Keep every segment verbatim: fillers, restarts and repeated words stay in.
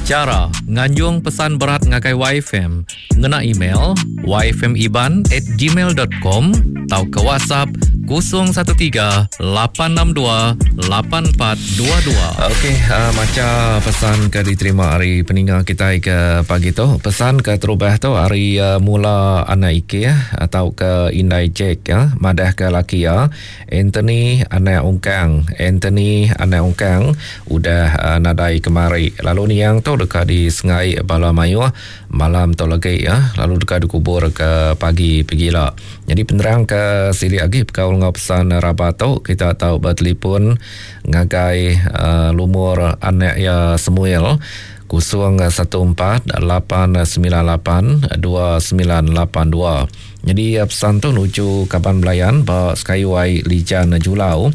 Chara nganjung pesan berat ngagai Y F M ngena email y f m iban at gmail dot com tauka WhatsApp kosong satu tiga lapan enam dua lapan empat dua dua. Okey, uh, maca pesan ke diterima hari peninga kita ke pagi tu. Pesan ke terubah tu hari uh, mula anak Ike atau ke Indai Jack ya, madah ke laki ya Anthony anak Ungkang. Anthony anak Ungkang udah uh, nadai kemari. Lalu niang tu dekat di Sengai Bala Mayuh malam tu lagi ya, lalu dekat dikubur ke pagi pegila. Jadi penerang ke silik lagi bekaul ngau pesan rabat tu kita tahu bertelefon ngagai uh, lumur anak ya Samuel kosong satu empat lapan sembilan lapan dua sembilan lapan dua. Jadi pesan tu nuju kaban belayan ba Skyway Lijan Julau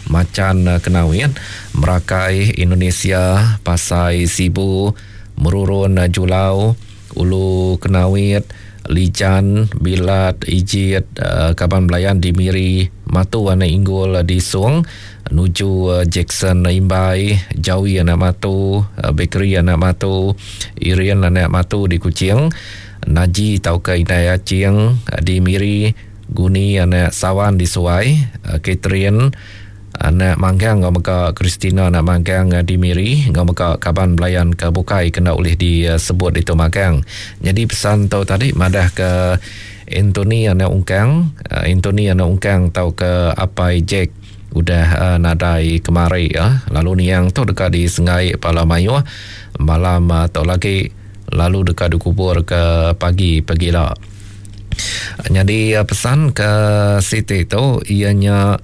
Macan Kenawit Merakai Indonesia Pasai Sibu Merurun Julau Ulu Kenawit Lijan Bilat Ijit kaban belayan di Miri Matu anak Inggul di Sung nuju Jackson Imbai Jawi anak Matu Bakery anak Matu Irian anak Matu di Kuching Naji tauka Indai Acing di Miri Guni anak Sawan di Suai Catherine anak Manggang ngau mega Christina anak Manggang di Miri ngau mega kaban belayan ke bukai kena oleh disebut itu Manggang. Jadi pesan tau tadi madah ke Anthony anak Ungkang, Anthony anak Ungkang tau ke Apai Jack udah uh, nadai kemari ya. Lalu niang tu dekat di Sengai Pala Mayuh malam uh, tau lagi lalu dekat dikubur ke pagi pegila. Jadi uh, pesan ke Siti tu ianya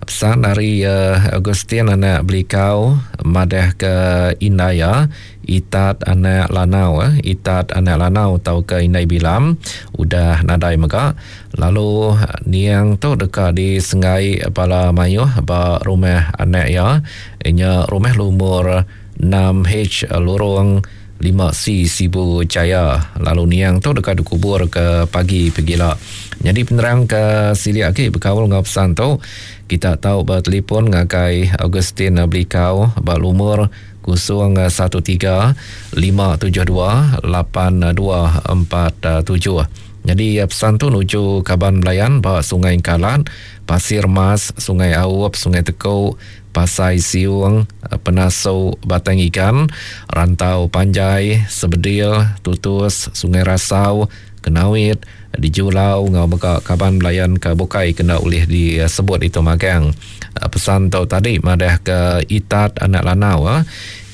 pesan dari uh, Augustine anak Belikau madah ke Indaya Itat anak Lanau eh Itat anak Lanau tau ke Indai Bilam udah nadai mega. Lalu niang tu dekat di Sengai Pala Mayuh ba rumah anak ya inya rumah lumur enam H lorong lima C Sibu Jaya. Lalu niang tu dekat dikubur ke pagi pegila. Jadi penerang ke silik lagi berkaul ngau pesan tu kita tahu bertelefon ngagai Augustine Belikau ba lumur kosong satu tiga lima tujuh dua lapan dua empat tujuh. Jadi pesan tu nuju kaban belayan ba Sungai Kalat, Pasir Mas, Sungai Aup, Sungai Tekuk, Pasai Siung, Penasu Batang Ikan, Rantau Panjai, Sebedil, Tutus, Sungai Rasau, Kenawit, di Julau ngau mega kaban belayan ke bukai kena ulih disebut itu magang. Pesan tu tadi madah ke Itat anak Lanau eh.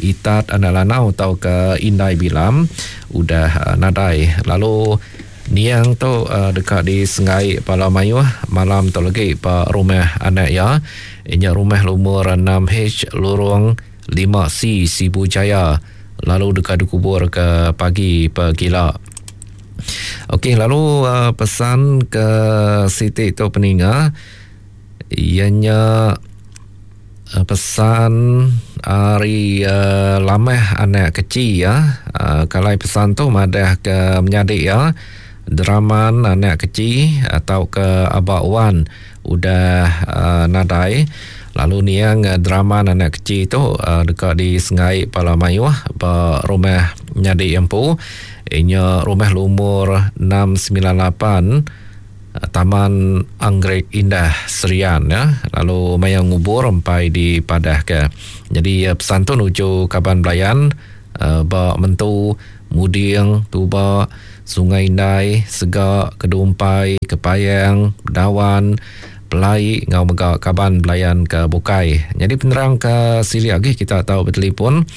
Itat anak Lanau atau ke Indai Bilam udah nadai. Lalu niang tu uh, dekat di Sengai Pala Mayuh malam tu lagi pa rumah anak ya. Inya rumah lumur enam H lorong lima C Sibu Jaya. Lalu dekat dikubur ke pagi pegila. Okey, lalu uh, pesan ke Siti tu peninga ianya uh, pesan hari uh, lamah anak kecil ya. Uh, kalau pesan tu madah ke menyadik ya. Draman anak kecil atau ke Abak Wan udah uh, nadai. Lalu niang uh, draman anak kecil tu uh, dekat di Sengai Pala Mayuh ba rumah nyadik empu. Inya rumah lumur enam sembilan lapan Taman Anggrek Indah Serian ya. Lalu maya ngubur empai di Padah ke. Jadi pesan tu nuju kaban belayan uh, ba Mentu, Muding, Tuba, Sungai Indai, Segak, Kedumpai, Kepayang, Dawan, Pelai ngau mega kaban belayan ke bukai. Jadi penerang ke silik lagi kita tahu bertelefon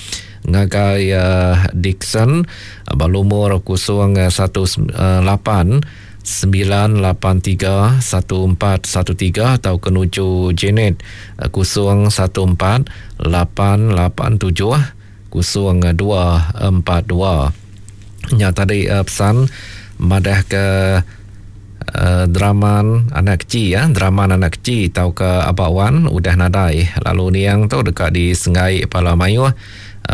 ngagai uh, Dixon balumur kosong satu lapan sembilan lapan tiga satu empat satu tiga atau kenuju Janet kosong satu empat lapan lapan tujuh kosong dua empat dua. Nya tadi uh, pesan madah ke uh, draman anak kecil ya, draman anak kecil tau ke Abak Wan udah nadai. Lalu niang tu dekat di Sengai Pala Mayuh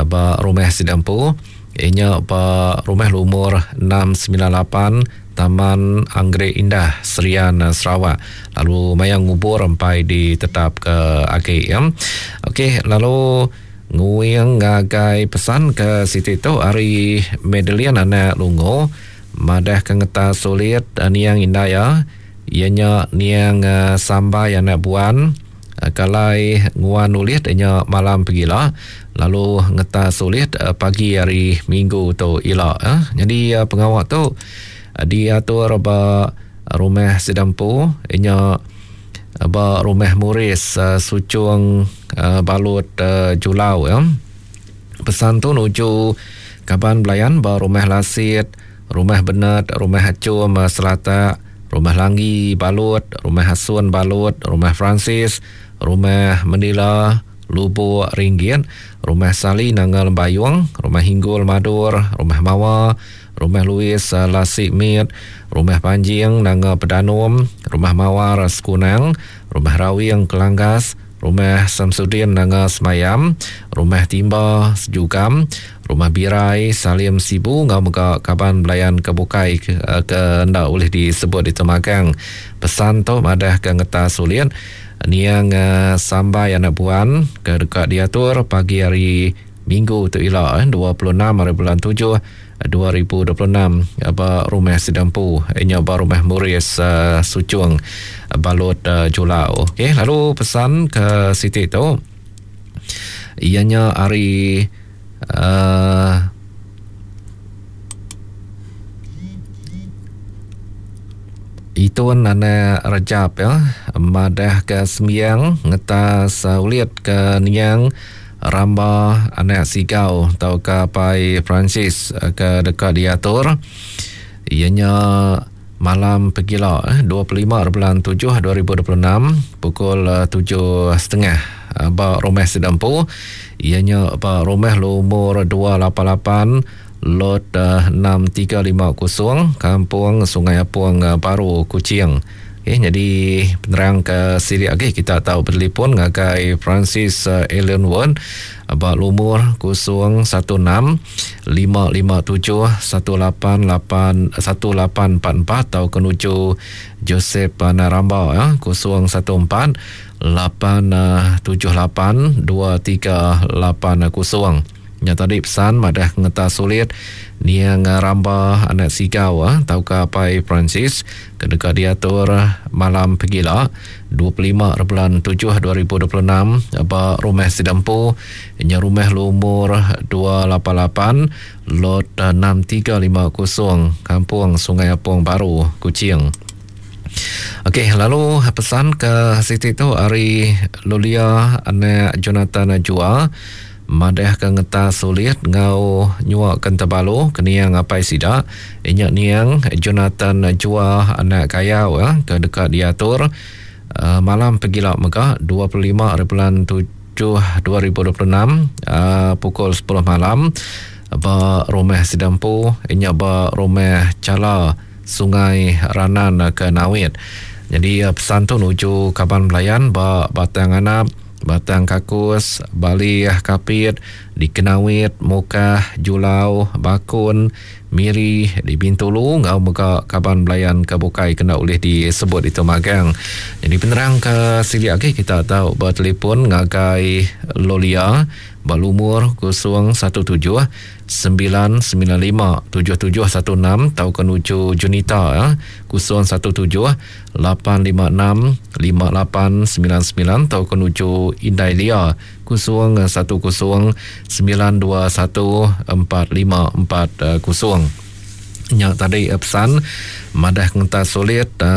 ba rumah Sidampu. Inya ba rumah lumur enam sembilan lapan Taman Anggrek Indah Serian Sarawak. Lalu maya ngubur empai ditetap ke agi ya. Okey, lalu Nguing ngagai pesan ke siti tu ari Medelian anak Lungo madah ke ngeta sulit niang indaya ianya niang sambai anak buan kalai nguan ulit nya malam pegila lalu ngeta sulit pagi hari Minggu tu ila. Jadi pengawa tu diatur ba rumah Sidampu nya ba rumah Muris Sucung Balut Julau ya. Pesan tu nuju kaban belayan ba rumah Lasit, rumah Benet, rumah Acum Selata, rumah Langgi Balut, rumah Hasun Balut, rumah Francis, rumah Manila Lubuk Ringgit, rumah Sali Nanga Lembayung, rumah Hinggul Madur, rumah Mawa, rumah Louis Lasik Mit, rumah Panjing Nanga Pedanum, rumah Mawar Sekunang, rumah Rawing Kelanggas, rumah Samsudin Nanga Semayam, rumah Timba Sejugam, rumah Birai Salim Sibu ngau mega kaban belayan kebukai ke, ke ndak boleh disebut di temagang. Pesan tu madah ke ngeta sulit niang sambai anak buan ke dekat diatur pagi hari Minggu tu ila dua puluh enam hari bulan tujuh dua ribu dua puluh enam ba rumah Sidampu nya ba rumah Muris uh, Sucung Balut uh, Julau. Okey, lalu pesan ke siti tu ianya hari uh, Itun anak Rejab ya madah ke sembiang ngetas uh, ulit ke niang Ramba anak Sigau atau ke Pai Francis ke dekat diatur ianya malam pegila dua puluh lima bulan tujuh dua ribu dua puluh enam pukul tujuh setengah ba rumah Sidampu ianya ba rumah lumur dua lapan lapan lot enam tiga lima kosong Kampung Sungai Apung Baru Kuching. Okay, jadi penerang ke siri lagi kita tahu bertelefon ngagai Francis uh, Allen Won ba lumur kosong satu enam lima lima tujuh satu lapan lapan satu lapan empat empat atau kenuju Joseph Naramba ya kosong satu empat lapan tujuh lapan dua tiga lapan kosong. Nya tadi pesan madah ngeta sulit niang Ramba anak Sigau ah tau ka Pai Francis ke dekat diatur malam pegila dua puluh lima bulan tujuh dua ribu dua puluh enam ba rumah Sidampu nya rumah lumur dua lapan lapan lot enam tiga lima kosong Kampung Sungai Apong Baru Kuching. Okey, lalu pesan ke siti tu ari Lulia anak Jonathan Jua madah ke ngeta sulit ngau nyuak kentebalu keniang apai sida inyak niang Jonathan Jua anak kayau ya, ke dekat diatur uh, malam pegila mega dua puluh lima bulan tujuh dua ribu dua puluh enam uh, pukul sepuluh malam ba rumah Sidampu inyak ba rumah Cala Sungai Ranan ke Nawit. Jadi uh, pesan tu nuju kaban belayan ba Batang Anap, Batang Kakus, Bali Kapit, di Kenawit, Mukah, Julau, Bakun, Miri, di Bintulu, ngau mega kaban belayan ke bukai kena boleh disebut itu magang. Jadi penerang ke sili lagi kita tahu bertelefon ngagai Lolia balumur kosong satu tujuh sembilan sembilan lima tujuh tujuh satu enam atau kenuju Junita ya, kosong satu tujuh lapan lima enam lima lapan sembilan sembilan atau kenuju Indai Lia kosong satu kosong sembilan dua satu empat lima empat kosong. Nya tadi pesan madah ngenta sulit uh,